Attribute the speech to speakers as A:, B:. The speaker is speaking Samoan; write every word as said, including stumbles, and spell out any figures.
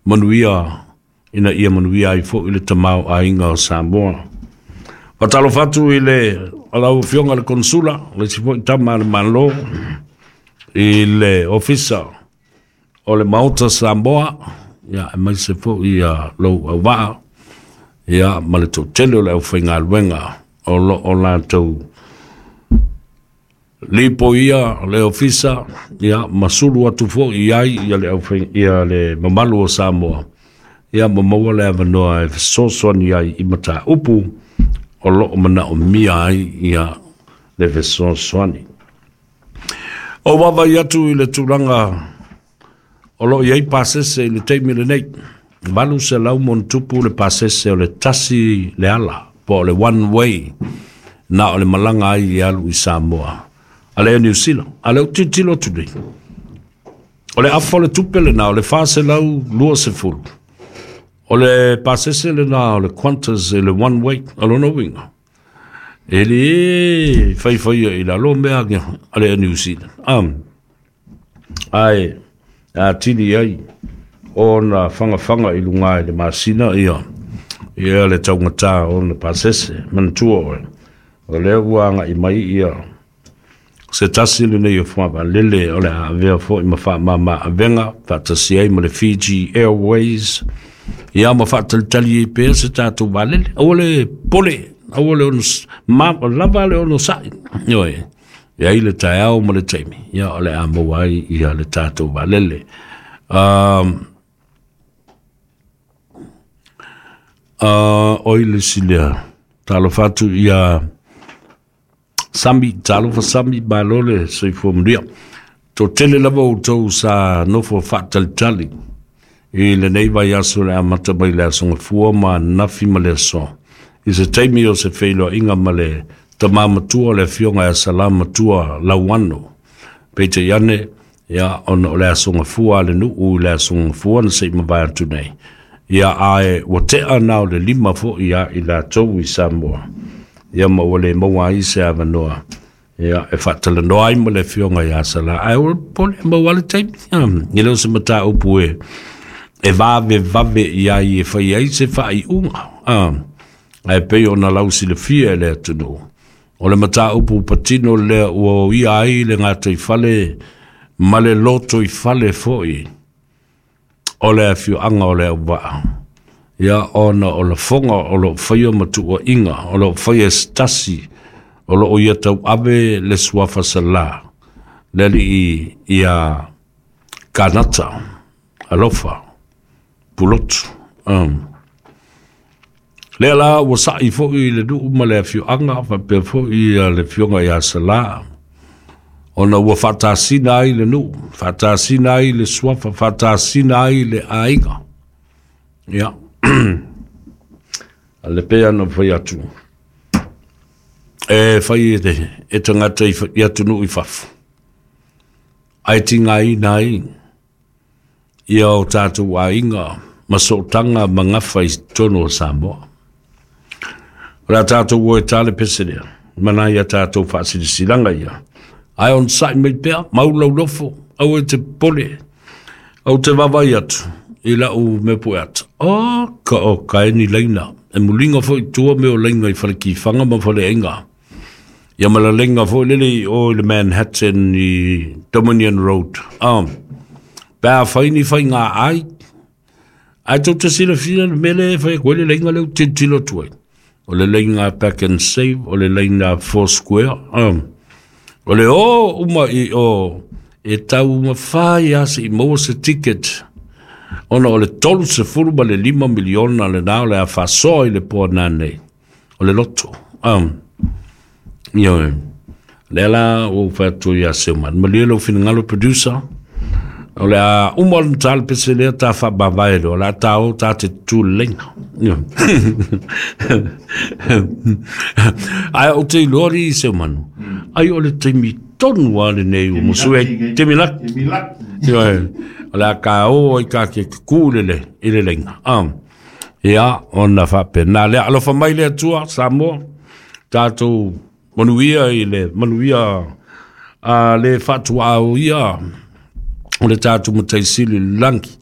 A: Manuia ina ia manuia ai fo'i le tamaoaiga o Samoa. Faatalofa atu i le lau Afioga le Konsula, le isi fo'i tama a le Malo i le Ofisa o le Maota Samoa, ia aemaise fo'i ia lou auvaa, ia ma le toatele o le aufaigaluega o loo latou lipoia le ofisa, ia ma sulu atu fo'i i ai ia le aufai ia le mamalu o Samoa, ia ma maua le avanoa e fesoasoani ai i mataupu o loo manaomia ai ia le fesoasoani. O vaavaai atu i le tulaga o loo i ai pasese i le taimi lenei, valu selau ma ona tupu le pasese o le tasi le ala po o le one way na o le malaga ai i alu i Samoa a le Niu Sila. A le tilotilo atu nei, o le afa o le tupe lena o le fa selau lua sefulu o le pasese lena o le Qantas i le one way. O lona uiga e lē faifaia i lalo mea a le New Zealand, um, ae atili ai ona fagafaga i luga i le masina ia ia le taugatā ona pasese. Manatua oe o lea ua aga'i mai ia se tasi lenei o fuavalele o le a avea fo'i ma faamāmā avega faatasi ai ma le Fiji Airways, ia ma faatalitali ai pea se tatou valele. Aua le pole, aua le ono ma lava le ono sa'i ioe e ai le taeao ma le taimi, ia o le a maua ai ia le tatou valele. um, uh, oi le silea talofa atu ia Sami, talofa Sami, malo le soifua manuia. Toatele lava outou sa nofo faatalitali i lenei vaiaso le amata mai le aso Gafua ma ananafi ma le aso i se taimi o se feiloaiga ma le tamā matua o le Afioga ia Salā Matua Lauano. Peitai ane, ia ona o le aso Gafua a le nuu i le aso Gafua na se'i mavae atu nei, ia ae ua te'a na o le lima fo'i ia i latou i Samoa, ia ma ua lē maua ai se avanoa ia e faatalanoa ai ma le Afioga iā Salā. Ae ua pole maua le taimi e le o se mataupu e e vavevave i ai e fai ai se faaiuga, ae pei ona lausilafia e le atunuu o le mataupu patino lea ua oia ai le gataifale ma le lotoifale fo'i o le afioaga o Leauvaa, ia ona o lafoga o loo faia ma tuuaiga o loo faia e se tasi o loo ia tauave le suafa Salā le alii ia Kanata Alofa Pulotu. um. Lea la ua sa'i fo'i le nuu ma le afioaga faapea fo'i ia le Afioga iā Salā, ona ua faatasina ai le nuu, faatasina ai le suafa, faatasina ai le aiga. Ia a le pei ona fai atu e fai e, e tagata i, i atunuu i fafo ae tigaina ai ia o tatou aiga ma sootaga ma gafa i totonu o Samoa. O le a tatou o e ta le pese lea mana ia tatou faasilasilaga ia, ae ona sa'i mai pea mau laulofo aua e te pole. Ou te vaavaai atu i la'u mea pueata o ka o kaeni laina e muliga fo'i tua mea o laiga i falekifaga ma faleaiga, ia ma laleiga fo'i lele i o i le Manhattan i Dominion Road, um, pe a fai ni faiga ai ae tou te silafia le mea lea e fai atu ai le laiga lea ou tilotilo atu ai o le laiga Pack and Save, o le laiga Four Square, um, o le o uma i o e taumafai lava se'i maua se ticket ona o le tolu sefulu ma le lima miliona lenā o le a faasoa i le poa nanei o le loto. um, Ioe lea la ua ou fai atu ia Seumanu, malie lou finagalo producer o le a uma ona ta le pese lea ta faamavae loa o le a ta o ta te tutū le laina. Ae ou te iloa alii Seumanu ai o le taimi tonu a lenei ua musu ai taimi laki. Ioe o le a ka o ai ka ke kukū le le i le laina. um, Ia ona faapena lea, alofa mai le Atua Samoa, tatou manuia i le manuia a le faatuaoia o le tatou Matai Sili i le lagi.